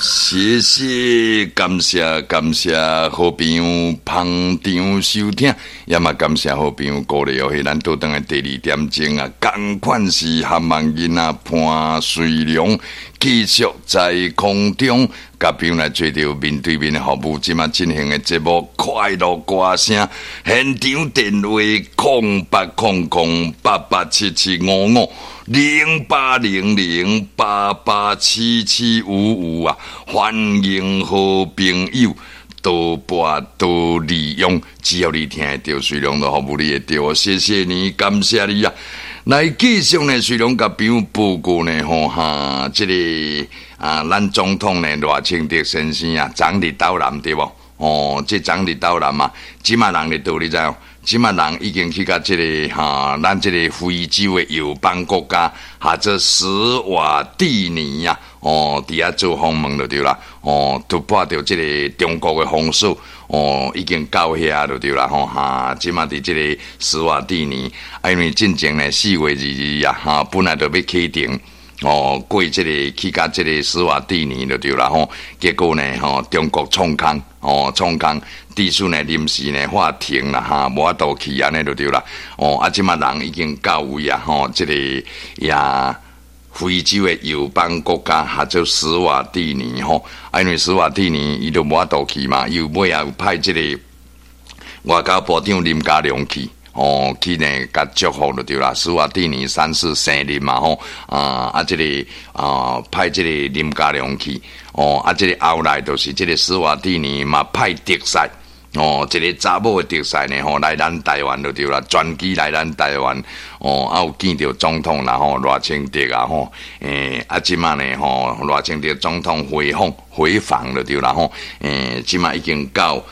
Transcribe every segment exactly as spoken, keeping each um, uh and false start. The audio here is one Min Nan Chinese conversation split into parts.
謝謝，感謝感謝好朋友捧場收聽，也嘛感謝好朋友鼓勵哦。彼咱倒轉來第二點鐘啊，仝款是含萬囡仔潘瑞良繼續在空中共朋友來做著面對面的服務，這馬進行的節目《快樂歌聲》，現場電話空八空空八八七七五五零八零零八八七七五五啊！歡迎好朋友多撥多利用，只要你聽會著，瑞良都服務你會著。謝謝你，感謝你啊！來繼續呢，瑞良共朋友報告呢，吼哈，這個啊，咱總統呢賴清德先生啊，昨佇斗南對無？哦，這昨佇斗南啊，這馬人佇佗你知無？這馬人已經去共這个哈，咱這个非洲的友邦國家，號做史瓦蒂尼啊，哦，佇遐做訪問就對啦，哦，突破著這个中國的封鎖，哦，已經到遐就對啦，吼哈，這馬佇這个史瓦蒂尼，啊，因為進前呢四月二二啊，哈，本來就欲啟程。哦，過這个去共這个史瓦蒂尼就對啦吼，結果呢吼，中國創空，哦，創空，致使呢臨時呢喊停啦哈，無法度去按呢就對啦。哦，啊，這馬人已經到位啊，吼，這个也非洲的友邦國家，號做史瓦蒂尼吼，啊，因為史瓦蒂尼伊就無法度去嘛，又尾仔有派這个外交部長林佳龍去。哦，去呢，共祝福就對啦。史瓦蒂尼三世生日嘛吼，啊啊，這个啊派這个林佳龍去，哦啊，這个後來就是這个史瓦蒂尼嘛派特使，哦，一个查某的特使呢吼來咱台灣就對啦，專機來咱台灣，哦，啊有見著總統啦吼，賴清德啊吼，欸，啊這馬呢吼，賴清德總統回訪回訪就對啦吼，欸，這馬已經到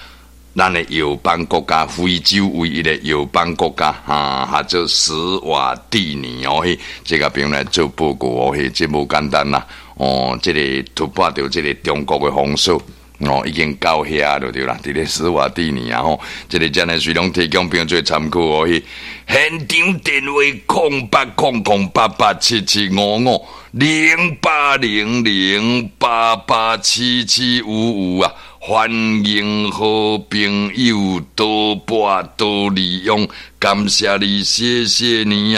咱的友邦國家，非洲唯一的友邦國家，哈，號做史瓦蒂尼哦，彼，這个朋友來做報告哦，彼，這無簡單啦，哦，這个突破著這个中國的封鎖，哦，已經到遐就對啦，佇咧史瓦蒂尼啊吼，這个真的是攏提供朋友做參考哦，彼，現場電話空八空空八八七七五五零八零零八八七七五五啊！歡迎好朋友多撥多利用，感謝你，謝謝你啊！